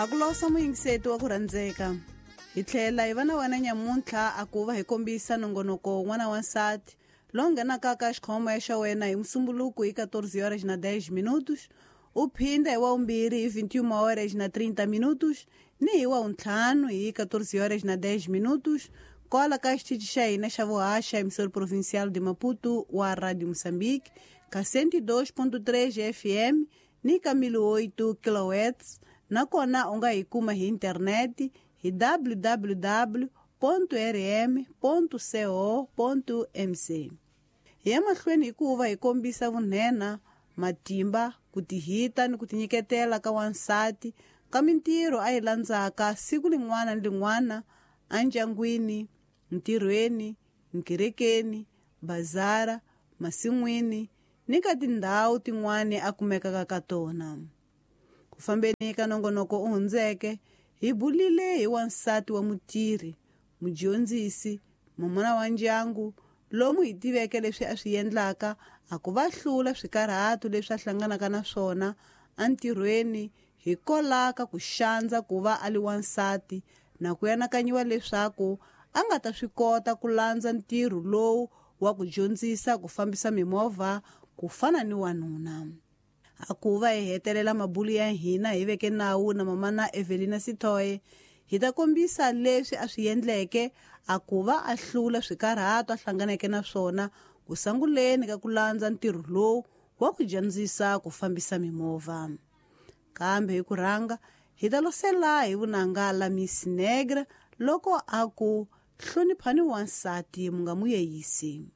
A ku losa muyingiseti wa ku rhandzeka. Hi tlhela hi va na wena nyamuntlha a ku va hi kombisa nongonoko n'wana wa nsati lowu nghenaka ka xikhomo xa wena hi Musumbuluku hi 14 horas na 10 minutos, u phinda hi wa vumbirhi hi 21 horas na 30 minutos ni hi wa vuntlhanu hi 14 horas na 10 minutos kwala ka xitichi xa hina xa vuhaxa emissora provincial de Maputo wa Radio Moçambique ka 102.3 FM ni ka 1008 kHz, nakona u nga hi kuma hi internet hi www.rm.co.mc. Hi ya mahlweni hikuva hi kombisa vunhena, matimba, ku tihita ni ku tinyiketela ka wansati ka mintirho a yi landzaka siku lin'wana ni lin'wana endyangwini, ntirhweni, nkerekeni, bazara, masin'wini ni ka tindhawu tin'wana a kumekaka ka tona. Ku fambeni ka nongonoko u hundzeke, hi bulile hi wansati wa mutirhi, mudyondzisi, mamana wa ndyangu, lomu hi tiveke leswi a swi endlaka a ku va hlula swikarhato leswi a hlanganaka na swona entirhweni hikwalaho ka ku xandza ku va a li wansati na ku anakanyiwa leswaku a nga ta swi kota ku landza ntirho lowu wa ku dyondzisa ku fambisa mimovha ku fana ni wanuna. A ku va hi hetelela mabulu ya hina hi veke nawu na mamana Evelina Sithoye, hi ta kombisa leswi a swi endleke a ku va a hlula swikarhato a hlanganeke na swona ku sanguleni ka ku landza ntirho lowu wa ku dyondzisa ku fambisa mimovha. Kambe hi ku rhanga hi ta losela hi vunanga la Miss Negra loko a ku hloniphani wansati mu nga mu yeyisi.